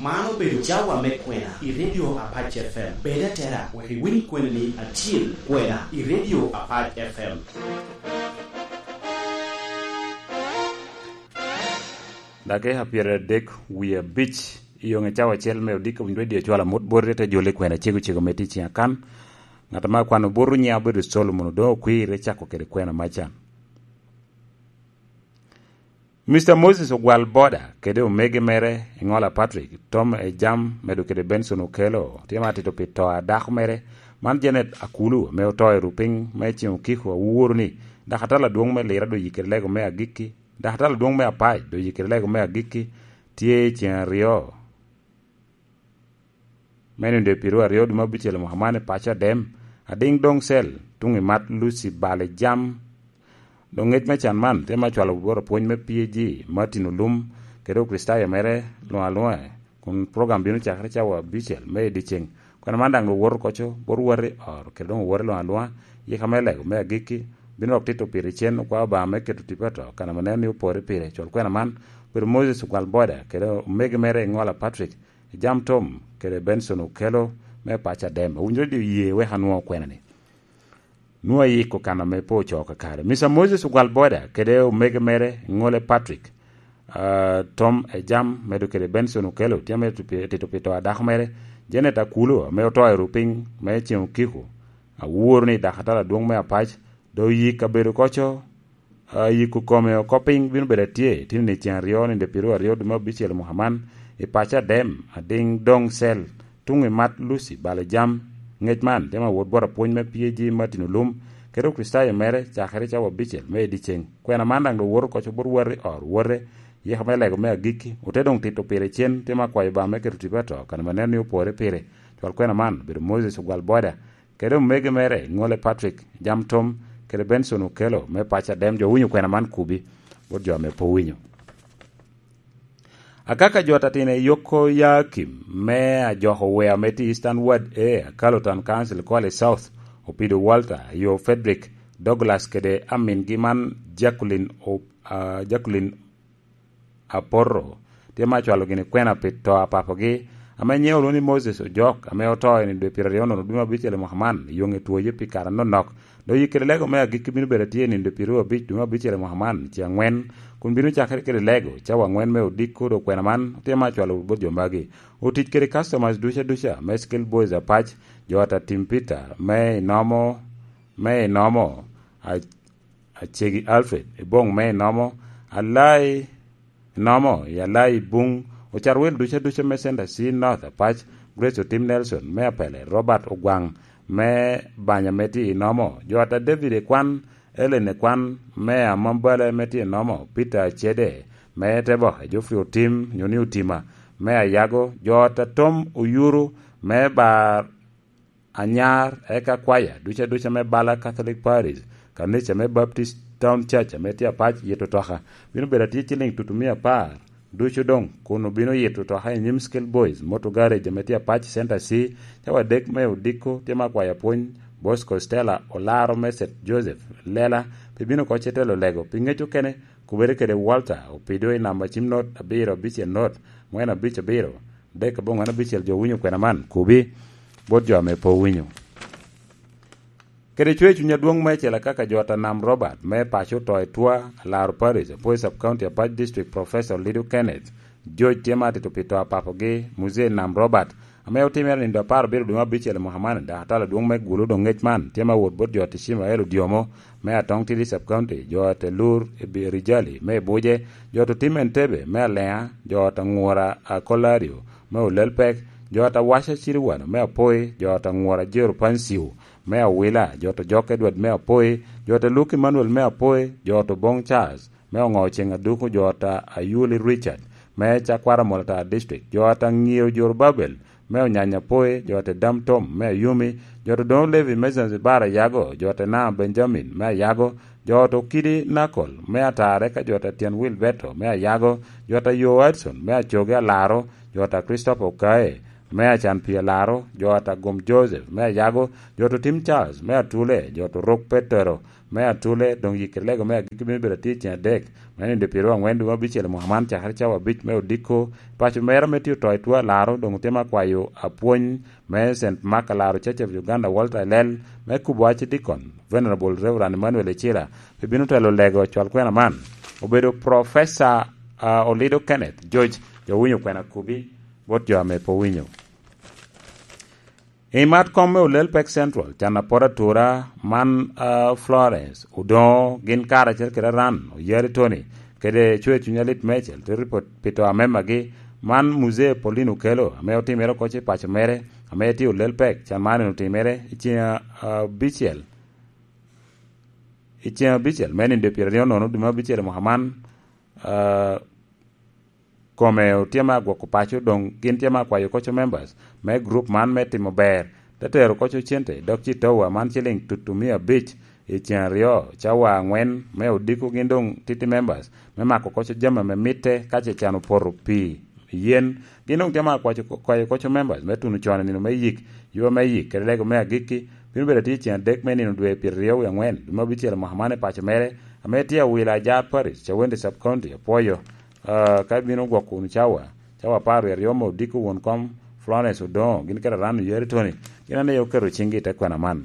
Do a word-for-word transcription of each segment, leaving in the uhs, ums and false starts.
Man obedo cawa me kwena i Radio Apac F M. Bed atera wek iwiny kweni ni atyel kwena i Radio Apac F M. Dakika pyeradek wie abic i yoŋe cawa acel me odiko winy radio cwalo amut bot rete jolo i kwena cego cego me tic i akan. Ŋat ame akwano bot nyiŋe obedo Solomon, doŋ okwirre cako kede kwena macan. Mister Moses Ogwal Boda kede omege mere Eŋola Patrick, Tom Ejam, medo kede Benson Okello, tye ma atito pi to a dako mere, man Janet Akulu, ame oto i rupiny me ceŋ okiko aworo ni, dok atalo adwoŋ me Lira doŋ yikere lego me agikki, dok atalo adwoŋ me Apac doŋ yikere lego me agikki, tye i ceŋ aryo me nino dwe pyeraryo dwe me abicel i mwaka man i paco Adem, adiŋ doŋ cel, tuŋ i mat Lucy Bal Ejam. Doŋ ŋec me can man tye me acwalo bot apwony me P A G, Martin Olum, kede Okricitayo mere luŋ aluŋa, kun program bino cakere cawa abicel me i dyeceŋ. Kwena man daŋ doŋ woto koco, bot wati oro, kede doŋ owote luŋ aluŋa, yika me lego me agikki, bino dok tito pire cen, okwao Obaŋa me keto tipo ato, kan ame nen ni opore pire, cwal kwena man, obedo Moses Ogwal Boda, kede omege mere Eŋola Patrick, Ejam Tom, kede Benson Okello, me paco Adem. Awinyo radio ye wek anwoŋo kwena ni. Nwoŋo ayiko kan ame pe ocoo kakare. Mister Moses Ogwal Boda kede omege mere Ŋole Patrick, ah, Tom Ejam, medo kede Benson Okello, tye ame tito pi, tito pi to a dako mere, Janet Akulu, ame oto i rupiny me ceŋ okiko. Aworo ni dakatala adwoŋ me Apac, doŋ oyik kabedo koco, ah, yiko kome oko piny bino bedo atye, tino ni ceŋ aryo, nino dwe pyeraryo dwe me abicel i mwaka man, i paco Adem, adiŋ doŋ cel, tuŋ i mat Lucy Bal Ejam. Ŋec man tye me awot bot apwony me P A G Martin Olum, kede Okricitayo mere, cakere cawa abicel me i dyeceŋ. Kwena man daŋ doŋ woto koco bot wati oro wote, yika me lego me agikki, ote doŋ tito pire cen, tye me akwayo Obaŋa me keto tipo ato, kan ame nen ni opore pire. Cwal kwena man obedo Moses Ogwal Boda, kede omege mere Ŋole Patrick, Ejam Tom, kede Benson Okello, me paco Adem. Jo winyo kwena man kubi, bot jo ame pe owinyo. Akaka jo atatino i Yoko Yakim, me ajoko wea me tye Eastern Ward A, Akalo Town Council, Kwale South, Opido Walter, yo Frederick Douglas kede amingi man Jacqueline O-, ah, Jacqueline Aporro, tye me acwalo gini kwena pi to a papogi, ame nyiŋe olwoŋo ni Moses Ojok, ame oto i nino dwe pyeraryo nono dwe me abicel i mwaka man, i yoŋe twoye pi kare anonok. Doŋ yikere lego me agikki bino bedo atye i nino dwe pyeraryo abic dwe me abicel i mwaka man, ceŋ aŋwen, kun bino cakere kede lego, cawa aŋwen me odiko. Doŋ kwena man tye me acwalo bot jo magi. Otic kede customers duca duca, me Skilled Boys Apac, jo ata Tim Peter, me Inomo, me Inomo, a-, Acegi Alfred, i boŋ me Inomo, Alai Inomo, i Alai Buŋ, ocat wel duca duca me Center C North Apac, Grace Otim Nelson, me Apele, Robert Ogwaŋ, me Banya me tye Inomo, jo ata David Ekwan, Ellen Ekwan, me Amambale me tye Inomo, Peter Acede, me Teboke, Geoffrey Otim, nyo ni Otima, me Ayago, jo ata Tom Oyuru, me Bar Anyar, eka kwaya duca duca me bala Catholic Parish, kanica me Baptist Town Church ame tye Apac yito toka, bino bedo atye ciliŋ tutumia apar ducu doŋ, kun obino yito toka i nyim Skilled Boys Motor Garage ame tye Apac Center C, cawa adek me odiko tye me akwaya pwony, Bosco Stella Olaro me Saint Joseph Lela, pi bino oko ce telo lego, pi ŋec okene, kubere kede Walter Opido i namba cim not abiro abicel not, ŋwen abic abiro, dek aboŋwen abicel. Jo winyo kwena man, kubi bot jo ame pe owinyo. Kede cwer cuny adwoŋ meicel akaka jo ata Nam Robert, me paco oto i Twa, Alaro Parish, Apoi Sub County, Apac District, Professor Lido Kenneth, George tye ma atito pi to a papogi, Muzee Nam Robert, ame otimere nindo apar abiro dwe me abicel i mwaka man, dok atalo adwoŋ me gulu doŋ ŋec man, tye ma wot bot jo ata Ishmael Odiomo, me Atong Tidi Sub County, jo ata Lur Ebi-, Rijali, me Ibuje, jo ata Otim Entebe, me Aleŋa, jo ata Ŋura Akolario, me Olelpek, jo ata Waca Ciriwano, me Apoi, jo ata Ŋura Jero Pansiu, me Awila, jo ata Jok Edward, me Apoi, jo ata Luke Emmanuel, me Apoi, jo ata Oboŋ Charles, me Oŋo Ceŋ Aduku, jo ata Ayuli Richard, me Cakwara Molata District, jo ata Ŋio Jorobabel, me Onyanya Apoi, jo ata Dam Tom, me Ayumi, jo ata Odoŋo Levi, me Zanzibar Ayago, jo ata Naa Benjamin, me Ayago, jo ata Okidi Nakol, me Atare, ka jo ata Tyen Wilberto, me Ayago, jo ata Yo Hudson, me Acoge Alaro, jo ata Christopher Okae, me Acan Pii Alaro, jo Atagum Joseph me Ayago, jo Otim Charles me Atule, jo Orok Petero me Atule, doŋ yikere lego me agikki bino bedo atye i ceng adek, me nindo pyeraryo aŋwen dwe me abicel i mwaka man, cakere cawa abic me odiko. Paco mera me tye oto i two Alaro, doŋ otye me akwayo apwony me Saint Mark Alaro Church of Uganda, Walter Elel, me kubo Archdeacon, Venerable Reverend Emmanuel Ecila, pe bino telo lego cwal kwena man. Obedo Professor, ah, Olido Kenneth George, jo owinyo kwena kubi, bot jo ame pe owinyo. I mat kom me Olel Pek Central, can apot atura man, ah, Florence Odoŋo, gin karacel kede Aran Oyari Tony, kede Cwer Cuny Alit Mecel, te ripot pi to amemagi, man Muzee Paulino Okello, ame otimere oko i paco mere, ame tye Olel Pek, can man en otimere i ceng, ah, abicel, i ceng abicel, me nindo pyeraryo nono dwe me abicel i mwaka man, ah, kome otye me agwoko paco, doŋ gin tye me akwayo koco members me group man me timo ber, te tero koco cente, dok citowa man ciliŋ tutu mia abic i ceng aryo, cawa aŋwen me odiko gin doŋ titi members me mako koco jami ame mitte ka ce can opoto pi yen. Gin doŋ tye me akwayo, kwayo koco members me tuno con i nino me yik, yub me yik, kede lego me agikki, bino bedo atye i ceng adek me nino dwe pyeraryo wie aŋwen, dwe me abicel i mwaka man i paco mere, ame tye awila Ajar Parish, Cawende Sub County, apwoyo. Ah, ka ibino gwoko wunu cawa, cawa apar wie aryo me odiko won kom Florence Odoŋo, gin kede Aran Oyari Tony, gin ane oketo ciŋgi i te kwena man.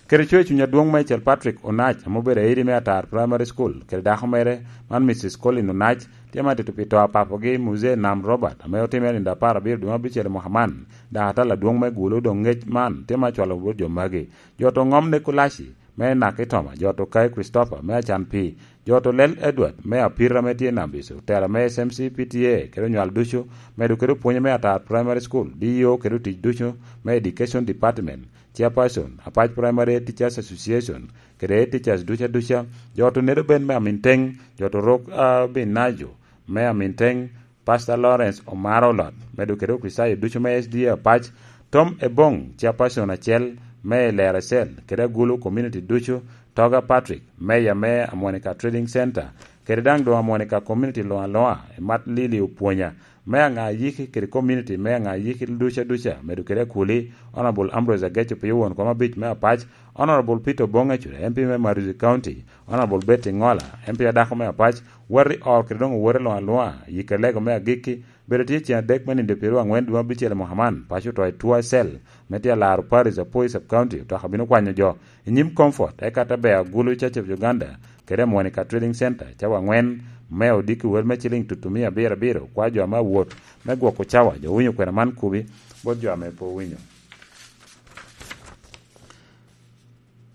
Kede Cwer Cuny Adwoŋ Mecel Patrick Onac, ame obedo aidi me Atar Primary School, kede dako mere, man Missus Colin Onac, tye ma tito pi to a papogi Muzee Nam Robert, ame otimere nindo apar abiro dwe me abicel i mwaka man, daŋ atal adwoŋ me gulo doŋ ŋec man tye ma cwalo bot jo magi. Jo to ŋom Nekulaci, me Nakitoma, jo to Kai Christopher, me Acan Pii, jo to Lel Edward, me Apira ame tye i Nambiso, otela me S M C P T A, kede onywal ducu, medo kede opwonye me Atar Primary School, D E O kede otic ducu me Education Department, Chairperson, Apac Primary Teachers Association, kede Teachers duca duca, jo to Nedo Ben me Aminteŋ, jo to Rok, ah, Binajo, me Aminteŋ, Pastor Lawrence Omaro Olot, medo kede Okricitayo ducu me S D A Apac, Tom Ebong, Chairperson acel me Lera Cell, kede Agulu Community ducu, Toga Patrick, Mayor me Amonica Trading Center, kede daŋ doŋ Amonica Community luŋ aluŋa, i mat Lili Opwonya, me aŋa yiki kede community me aŋa yiki duca duca, medo kede Akuli, Honorable Ambrose Ageco Pio won kom abic me Apac, Honorable Peter Obong Ecura, M P me Maruzi County, Honorable Betty Ngola, M P adako me Apac, wati or kede doŋ owote luŋ aluŋa, yikere lego me agikki, bedo tye ceng adek me nindo pyeraryo aŋwen dwe abicel i mwaka man, paco oto i Tua Cell, me tye alaro Paris Apoi Sub County, otoka bino kwanyo jo i nyim Comfort, eka te bea Gulu Church of Uganda, kede Monica Trading Center, cawa aŋwen, me odiki wel me ciliŋ tutu mia abiro abiro, kwa jo ame awot, me gwoko cawa, jo owinyo kwena man kubi, bot jo ame pe owinyo.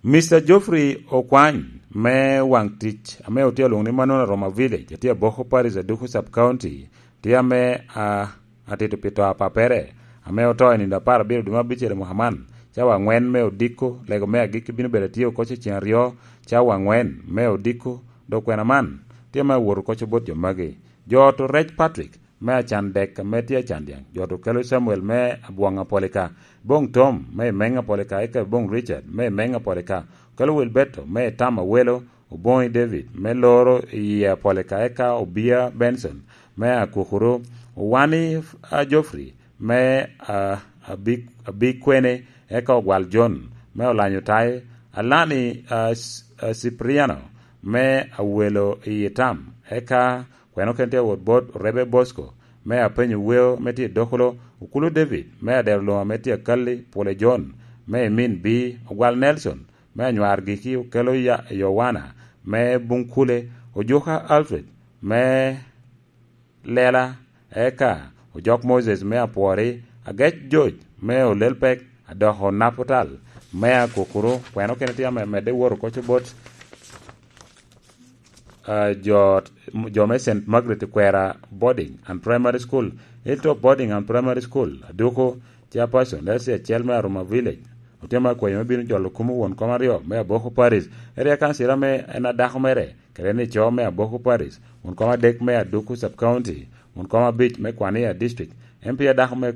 Mister Geoffrey Okwany, me waŋ tic, ame otye alwoŋo ni Manona Roma Village, atye Aboko Parish, Aduku Sub County, tye ame, a, atito pi to a papere, ame oto i nindo apar abiro dwe me abicel i mwaka man, cawa aŋwen me odiko, lego me agikki bino bedo atye oko cecen aryo, cawa aŋwen me odiko, dok kwena man, tye ame awoto koco bot jo magi. Jo to Rec Patrick, me acan dek ame tye acan dyaŋ, jo to kelo Samuel me Abwoŋ Apolika, Boŋ Tom me i Meŋ Apolika, eka Boŋ Richard me i Meŋ Apolika, kelo Wilberto me i Tam Awelo, Oboŋi David me Loro i Apolika, eka Obia Benson me Akukuru, Owani, a, Geoffrey me, a, Abi-, Abikwene, eka Ogwal John me Olanyo Tai, Alani, a, S-, a, Cipriano me Awelo i Tam, eka Kweno ken tye awot bot Orebe Bosco, me Apenyo Weo, me tye i Dokolo, Okulu David, me Adero Luma, me tye Akalli, Pule John, me Emin B, Ogwal Nelson, me Anywar Giki, Okelo Ya-, Yowana, me Bunkule, Ojuka Alfred, me Lela, eka Ojok Moses, me Apwori, Agec George, me Olelpek, Adoko Naputal, me Akukuru, kweno kene tye ame medde woro koco bot ah, jo, jo me Saint Margaret Kwera Boarding and Primary School, Hilltop Boarding and Primary School, Aduku, Chairperson, Elsie Acel me Aruma Village, otye me akwayo me bino jolo kumo won kom aryo me Aboko Parish, area council ame en adako mere, kede ni co me Aboko Parish, won kom adek me Aduku Sub County, won kom abic me Kwania District, M P adako me,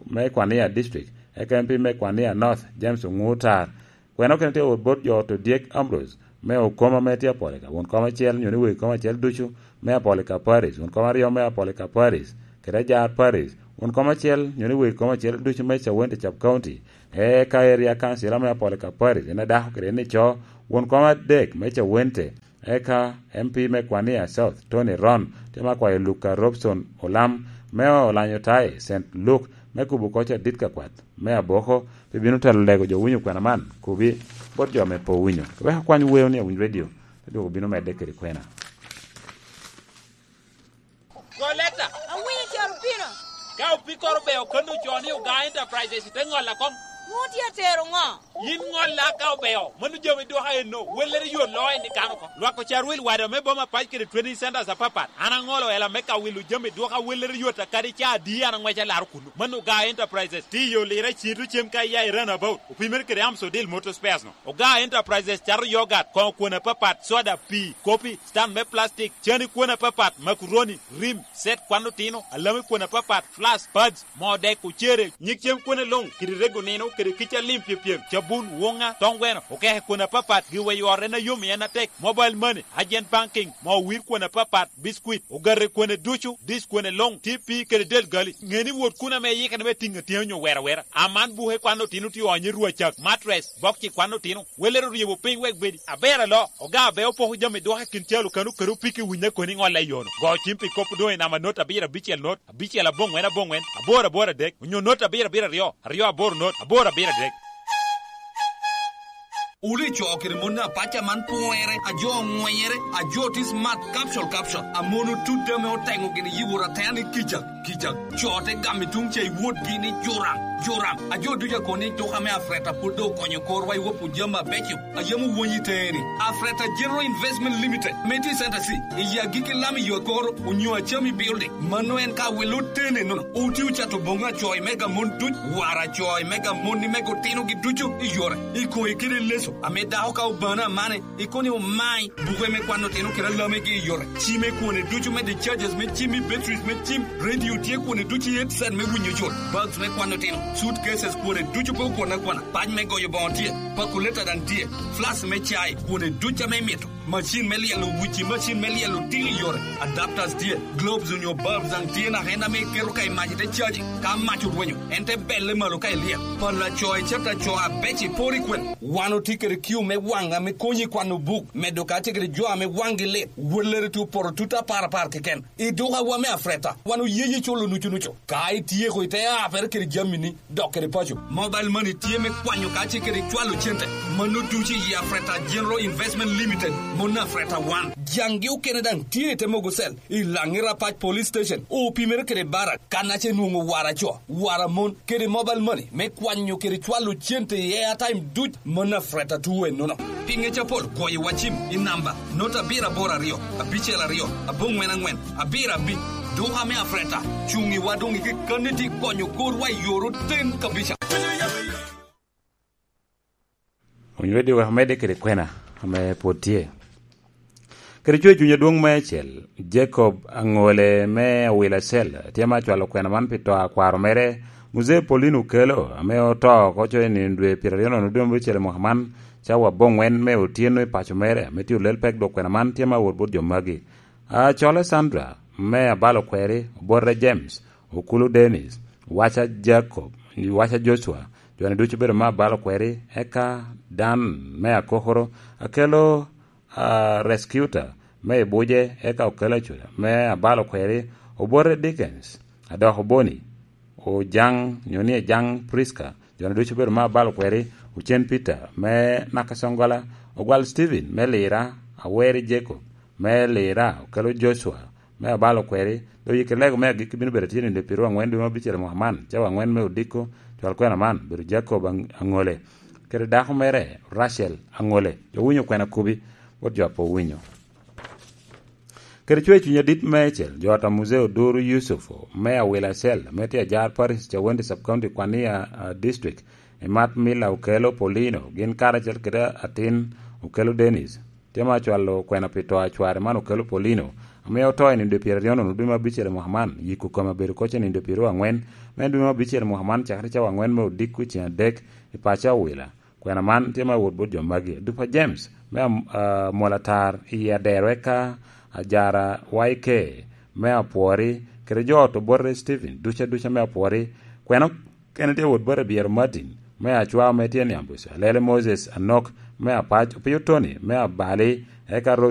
me Kwania District, eka M P me Kwania North, James Ongutar, Kwena kene tye wot bot jo to Dyek Ambrose, me okoma me tye Apolika, won kom acel nyo ni wegi kom acel ducu me Apolika Paris, won kom aryo me Apolika Paris, kede Ajar Paris, won kom acel, nyo ni wer kom acel ducu me Cawente Sub County, eka Area Council ame Apol Kapari, en adako kede ni co, won kom adek me Cawente, eka M P me Kwania South, Tony Ron, tye ma kwayo Luka Robson Olam, me olanyo taye Saint Luke, me kubo koc adit ka kwat, me aboko, pe bino telo lego jo winyo kwena man, kubi, bot jo me po winyo. Wek akwany weo ni awiny radio, te dwoko bino medde kede kwena. Go leta. Awinyo caro pino. Ka opikkoro beo, kono ocoo ni Ogaa Enterprises te ŋolla kom. Nwoŋo tye atero ŋo? Yin ŋolla ka obeo, mano jami dwoka enno, wellere yot loo en i kano oko. Lwak ocar wil wada me boma pac kede training centers apapat. An aŋolo ela me ka wilo jami dwoka wellere yot akadi ca adi an aŋweco alaro kuno. Mano Ogaa Enterprises, tye i yo Lira Cito cem ka iya i Runabout, opimere kede Amsodil Motor Spares no. Ogaa Enterprises cato yogat, koŋo kwon apapat, soda, pii, kopi, stand me plastic, cani kwon apapat, makuroni, rim, set kwan otino, alami kwon apapat, flask, pads, moo dek, ocere, nyig cem kwone luŋ, kede rego nino, kede kica lim pyepyem, cabun, woŋa, toŋ gweno, okeke kwon apapat, giweyo ot en ayom i en atek, mobile money, agent banking, moo wir kwon apapat, biscuit, ogate kwone ducu, dis kwone luŋ, tye pii kede del gali. Ŋe ni wot kun ame iyikere me tiŋ atyeni onyo wero awera. Aman buke kwan otino tye onyo i rwacak, mattress, bokci kwan otino. Welere oryebo piny wek bedi. Aber alo, oga abe opoko jami dwoka i kin calo kano kede opiki winyo koni ŋolla i yono. Go cim pi kop doŋ i namba not abiro abicel not, abicel aboŋwen aboŋwen, aboro aboro adek, onyo not abiro abiro aryo, aryo aboro not, aboro abiro adek. Wuli co kede mon apaca man pwere, a jo oŋwenyere, a jo tye smart, capsule, capsule. A mon otut ame oteŋo gini yibo ratena ni kica, kica. Co te gamo i tuŋ ca i wotgi ni joram, joram. A jo ducu akon ni duka me Afreta pwod doŋ okonyo korwa i wopo jami abeco. A yam owonyi i teŋe ni, Afreta General Investment Limited, me tye i Center C, i agikki lam i yo akoro, onyo Achami Building. Mano en ka welo tene nono. Oti ocato boŋo acoy mega mon duc, wara acoy mega mon ni mego otinogi ducu i yore. I koŋe kede leso, ame dako ka obano amane, i koni omai, buke me kwan otino kede alamegi i yore. Cime kwone ducu me discharges me cim i batteries me cim, radio tye kwone ducu i headset me winyo jol, bags me kwan otino, suitcases kwone ducu pe okwan akwana, pac me goyo boŋo tye, pakuleta daŋ tye, flask me cai kwone ducu ame imito. Macin me lyelo wuci, macin me lyelo tiko i yore, adapters tye, globes onyo bulbs daŋ tye naka en ame iketo ka i mac ite caji. Ka mac orwenyo, en te belle malo ka ilyel. Pala co i cata co abec i pori kwen. Wan otye kede kiu me waŋ ame konyi i kwano buk, medo kacel kede jo ame waŋgi lit, wellere tye opoto tut apar apar keken. I dukawa me Afreta, wan oyeyi culo nucu nucu. Ka ityeko ite apere kede jamini, dok kede paco. Mobile money tye me kwanyo kacel kede cwalo cente. Mano ducu i Afreta General Investment Limited, mon Afreta wan. Jaŋgi okene daŋ tye i te mogo cell, i Laŋira Pac Police Station, opimere kede barak, kan ace nwoŋo wara co, wara mon, kede mobile money, me kwanyo kede cwalo cente i airtime duc, mon Afreta tuwe nono. Pi ŋec apol, goyo wa cim i namba, not abiro aboro aryo, abicel aryo, aboŋwen aŋwen, abiro abic. Duka me Afreta, cuŋ i wa doŋ i kekkanni tye konyo korwa i yor oten kabisa. Onywedi wek omedde kede kwena ame pwod tye. Kede cwer cuny adwoŋ me acel, Jacob Aŋole me Awila Cell, tye ma acwalo kwena man pi to a kwaro mere, Muzee Paulino Okello, ame oto oko coyo i nino dwe pyeraryo nono dwe me abicel i mwaka man, cawa aboŋwen me otyeno i paco mere, ame tye olel pek dwok kwena man, tye ma awot bot jo magi. Acole Sandra, me Abalo Kweri, Obote James, Okulu Dennis, Waca Jacob, Waca Joshua, jo-ni ducu obedo me Abalo Kweri, eka Dan me Akokoro, Akello, ah, Rescuter me Ibuje, eka Okello Acuda me Abalo Kweri, Obote Dickens, Adoko Boni, Ojaŋ, nyo ni Ejaŋ Prisca, jo-ni ducu obedo me Abalo Kweri, Ocen Peter me Nakasongola, Ogwal Stephen me Lira, Aweri Jacob me Lira, Okello Joshua me Abalo Kweri, doŋ yikki lego me agikki bino bedo tye nino dwe pyeraryo aŋwen dwe me abicel i mwaka man, cawa aŋwen me odiko, cwal kwena man, bedo Jacob Aŋ-, Aŋole, kede dako mere, Rachel Aŋole. Jo winyo kwena kubi, bot jo a pe owinyo. Kede cwer cuny adit meicel, jo ot a Muzee Oduru Yusuf, me Awila Cell, me tye ajar Parish Cawende Sub-County Kwania, ah, District, i mat Mila Okello Paulino, gin karacel kede atin Okello Dennis, tye ma acwalo kwena pi to a cware man Okello Paulino, ame oto i nino dwe pyeraryo nono dwe me abicel i mwaka man, yiko kome abedo koc i nino dwe pyeraryo aŋwen me dwe me abicel i mwaka man, cakere cawa aŋwen me odiko i ceng adek i paco Awila. Kwena man tye me awot bot jo magi: Adupa James me Am-, ah, Molatar i Adero, eka Ajara Y K me Apwori, kede jo ot obote Stephen duca duca me apwori, kweno kene tye wot bote Biero Martin me acwa me tye niambuc, alele Moses Anok me apac, opio Tony me abali, eka Rose